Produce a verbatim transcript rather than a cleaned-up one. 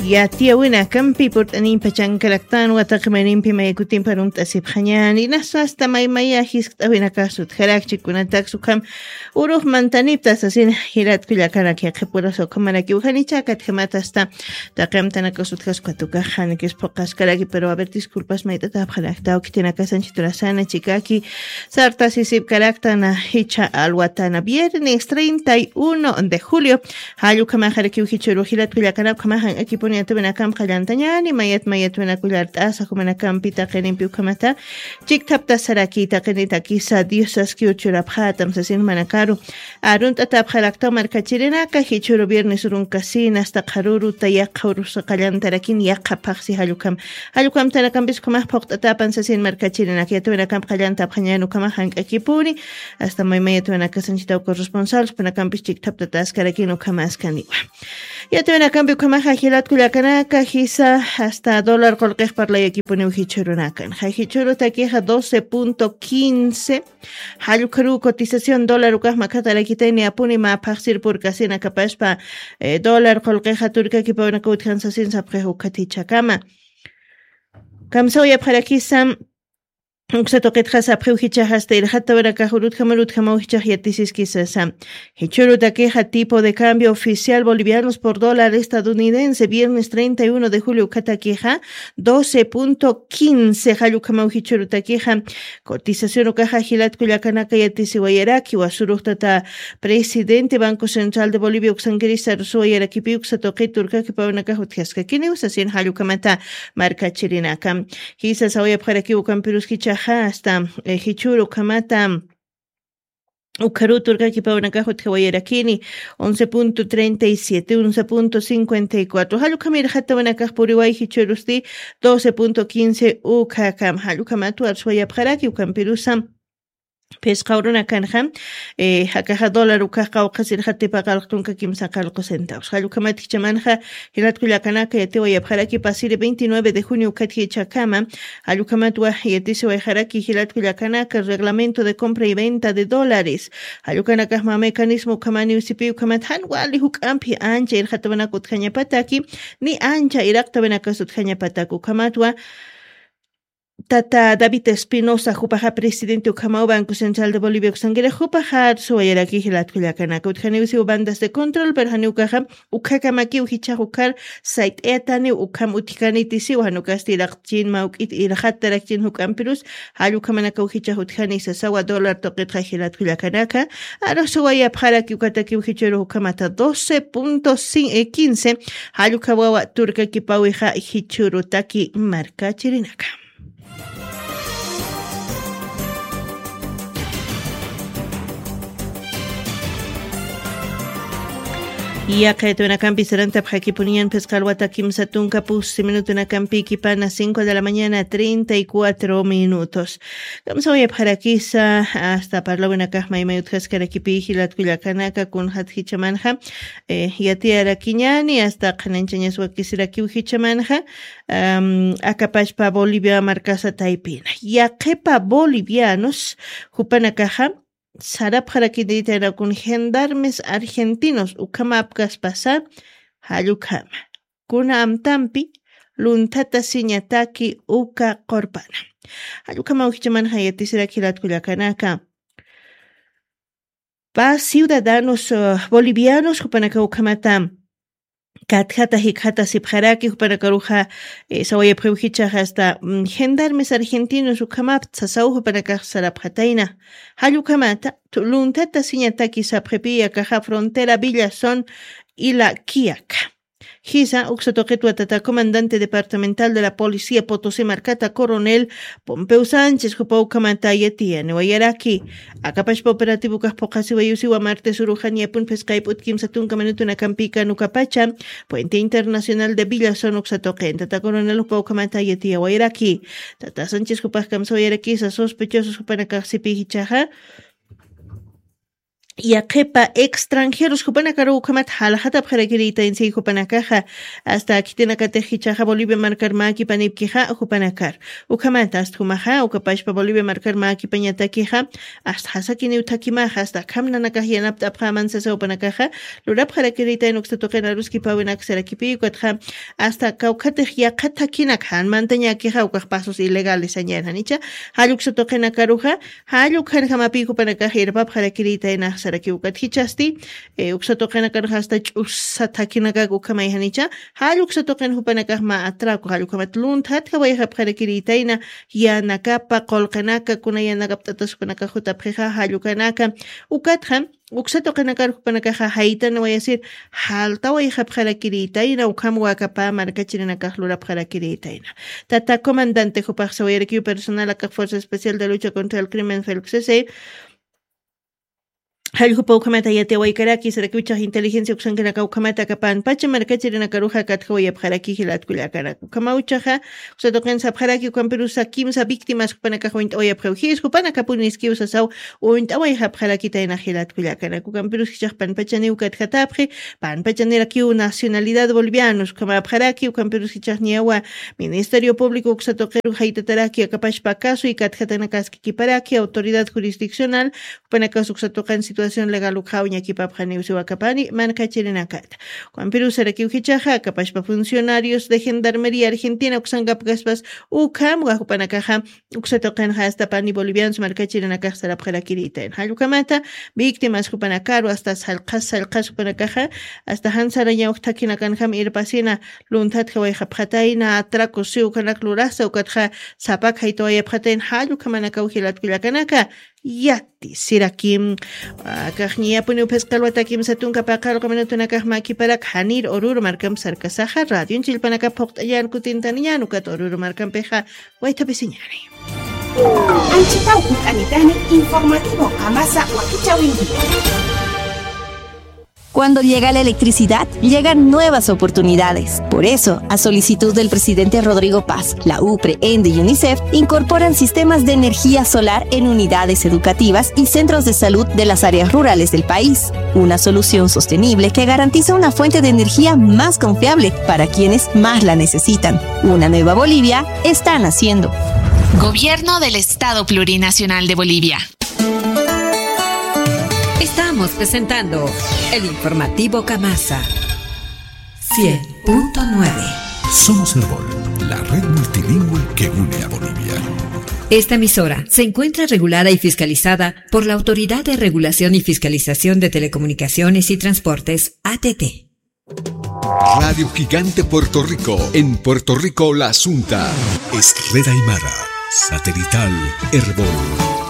Yatiyawinakampi purt'animpa chankaraktan wataqi maynimpi maykutimpa runt'asipxañani, nasu asta maymaya jiskt'awinakasut jarakchik kunataks ukham urux mantanipta sasina. Jiratkullakanak yaqhipurasa ukhamarakiw janicha katjamat asta taqi amtanakasut jasukatukaxanikis phuqaskaraki pero a ver disculpas mayt'atapxaraktaw khitinakasanchiturasana chikaki sartasisipkaraktan jichha alwatana viernes treinta y uno de julio. Jallukamaxarakiw jichhuru jilatkullakanap khamaxan akipuni atawinakamp qallantañani mayat mayatwinakullart'asa jumanakampi taqinimpi ukhamata chikthaptasaraki taqinitakisa diosaskiw churapxatam sasin manakaru. Arunt'atapxaraktaw markachirinaka jichhuru viernes urunkasina asta qharuruta yaqha urusa qallantarakin yaqha phaxsi jallukam. Jallukam tanakampis ukhamax phuqt'atapan sasin markachirinaka yatawinakamp qallantapxañan ukhamax jank'akipuni asta maymayatawinakasanchitaw corresponsal supanakampis chikthaptataskarakin ukhamaskaniwa. Yatawinakampi ukhamaxa jilatkullakanaka jisa asta dólar qulqix parlayakipuniw jichhurunakan ja jichhurutakixa doce punto quince. Jallukharuw cotización dólar ukax makhatarakitayni apuni mä phaxsir purkasina kapaspa dólar qulqixa turkakipawnaka utjan sasin sapxix ukhatichakama. Kamsawayapxarakisam uksa tuqitxa sapxiw jichaxasta irxatawanakax urutjamar utjamaw jichax yatisiskisasa. Jichhurutakixa tipo de cambio oficial bolivianos por dólar estadounidense viernes treinta y uno de julio ukhatakixa doce punto quince jallukamaw jichhurutakixa cotización ukaxa jilatkullakanaka yatisiwayaraki wasuruxtata presidente banco central de bolivia uksankirista rusuwayarakipi uksa tuqit turkakipawnakax utjaskakiniw sasin jallukamata markachirinaka. Jisa sawayapxarakiw ukampirus jichaxa asta jichhur ukhamata ukharutur kakipawnakax utjawayarakini once punto treinta y siete once punto cincuenta y cuatro jallukhamir jatawanakax puriway jichhurusti doce punto quince ukhakam jallukhamat warsuwayapxaraki ukampirusa. Phisqa urunakanxa jakaxa dólar ukax qawqhasir jatipaqalqtunka kimsa qalqu centavos jallukhamat jichamanxa jilatkullakanaka yatiwayapxaraki pasiri veintinueve de junio ukhatjichakama. Jallukhamat waj yatisiwayxaraki jilatkullakanaka reglamento de compra y venta de dólares. Jallukanakaxma mecanismo ukhamaniw sipiw ukhamat jan wali juk'ampi ancha irxatawanak utjañapataki ni ancha iraqtawinakas utjañapatak ukhamatwa tata david espinosa jupaxa presidente ukhamaw banco central de bolivia uksankirix jupaxa arsuwayaraki jilatkullakanaka utjaniw siw bandas de control pero janiw ukaxa ukhakamakiw jichhax ukhar sayt'ayataniw ukham utjkanitisiw jan ukasti iraqchin mawk'it irxatarakchin juk'ampirus jallukhamanakaw jichhax utjani sasawa dólar tuqitxa jilatkullakanaka. Arsuwayapxaraki ukatakiw jichhurux ukhamata doce punto quince jallukhawawa turkakipawixa jichhurutaki markachirinaka. Yaqaytunakampi sarantapxakipuniñan phisqa alwata kimsa tunka pusi minutunakampi kipana cinco de la mañana treinta y cuatro minutos. Kamsawayapxarakisa asta parlawinakax maymay utjaskarakipi jilatkullakanaka kunxat jichamanxa yatiyarakiñani asta qhananchañas wakisirakiw jichamanxa akapachpa bolivia markasa taypina yaqhipa bolivianos jupanakaxa sarapxarakiniritanakun gendarmes argentinos ukhamapkaspasa jallukhama kuna amtampi lunthata siñataki uka qurpana. Jallukhama ujichamanxa yatisirak jilatkullakanaka pa ciudadanos bolivianos jupanaka ukhamata katjata jikjata sipxaraki jupanakaruxa sawayapxiw jichaxa asta gendarmes argentinos ukhamapta sasaw jupanakax sarapxatayna. Jallukhamata lunthata siñataki sapxipi yakaxa frontera villazon ila kiaka. Jisa uksa tuqitwa tata comandante departamental de la policía potosi markata coronel pompeu sánchez jupa ukhamata yatiyaniwayaraki. Akapashpa operativo ukax phuqhasiwayusiwa martes uruxan yapun phisqayp'ut kimsa tunka minutunakampi kanukapacha puente internacional de villazon uksa tuqin tata coronel jupa ukhamata yatiyawayraki. Tata sánchez jupax kamsawayarakisa sospechosos jupanakaxsipi jichaxa yaqhipa extranjeros jupanakaru ukhamat jalxatapxarakirïtaynsi jupanakaxa, hasta khitinakatix jichhaxa Bolivia markar mäkipanipkixa jupanakar. Ukhamat hasta jumaxa, ukapashpa Bolivia markar mäkipañatakixa, hasta jasakiniw thakimaxa, hasta akham nanakax yanapt'apxäman sasa jupanakaxa, lurapxarakirïtayna uksa tuqin aruskipäwinak sarakipï, ukatxa hasta kawkhatix yaqha thakinak jan mantañäkixa, ukax pasos ilegales sañäni janicha, jall uksa tuqinakaruxa, jall ukhanjamapï jupanakax irpapxarakirïtaynax sarakiw. Ukat jichhasti, eh, uksa tuqinakar hasta ch'usa thakinakak ukhamay janicha, jall uksa tuqin jupanakax mä atraco, jall ukhamat lunthatjawayxapxarakirïtayna, yanakapa, qullqinaka, kuna yanakapt'atas jupanakax jutapxixa, jall ukanaka, ukatxa, uksa tuqinakar jupanakaxa jaytanawayasir, jaltawayxapxarakirïtayna, ukham wakapa markachirinakax lurapxarakirïtayna. Tata comandante jupax sawayarakiw personal akax Fuerza Especial de Lucha contra el Crimen, felxese, jalljupa ukhamata yatiyawaykaraki, sarakiw jichhax inteligencia uksankanaka ukhamata aka panpacha markachirinakaruxa katjawayapxaraki jilat kullakanaka. Ukhamaw jichhaxa, uksa tuqin sapxaraki, ukampirus kimsa víctimas jupanakax uñt'awayapxiw. Jis jupanakapuniskiw sasaw uñt'awayxapxarakitayna jilat kullakanaka. Ukampirus jichhax panpachaniw katjatapxi, panpachanirakiw nacionalidad bolivianos ukhamäpxaraki, ukampirus jichhax niyawa Ministerio Público uksa tuqiru jaytataraki, akapashpa caso y katjatanakaskikiparaki, autoridad jurisdiccional, jupanakas uksa tuqin situación legal ukxaw ñakipapxaniw siwakapani, markachirinakata. Ukampirus sarakiw jichhaxa, akapashpa funcionarios de Gendarmería Argentina uksankapkaspas, ukham jupanakaxa, uksa tuqinxa hasta pani bolivianos markachirinakax sarapxarakirïtayna. Jall ukhamata, víctimas jupanakaru, hasta sallqhas, sallqhas jupanakaxa, hasta jan sarañaw thakhinakanjam irpasina, lunthatjawayxapxatayna, atraco siw ukhanak lurasa, ukatxa sapak jaytawayapxatayna, jall ukhamanakaw jilat kullakanaka, yati siraki. Akax ñiyapuniw phisqa alwata kimsa tunka paqallqu minutunakax mäkiparak, janir Oruro markamp sarkasaxa, radion chillpanakap phuqt'añan kutintaniñan, ukat Oruro markampixa waythapisiñani. Anchitaw hunt'anitani informativo Qamasa wakichäwinkipi. Cuando llega la electricidad, llegan nuevas oportunidades. Por eso, a solicitud del presidente Rodrigo Paz, la UPRE, ENDE y UNICEF incorporan sistemas de energía solar en unidades educativas y centros de salud de las áreas rurales del país. Una solución sostenible que garantiza una fuente de energía más confiable para quienes más la necesitan. Una nueva Bolivia está naciendo. Gobierno del Estado Plurinacional de Bolivia. Estamos presentando el informativo Qamasa cien punto nueve. Somos Erbol, la red multilingüe que une a Bolivia. Esta emisora se encuentra regulada y fiscalizada por la Autoridad de Regulación y Fiscalización de Telecomunicaciones y Transportes, A T T. Radio Gigante Puerto Rico, en Puerto Rico la Asunta. Es Red Aymara, satelital, Erbol.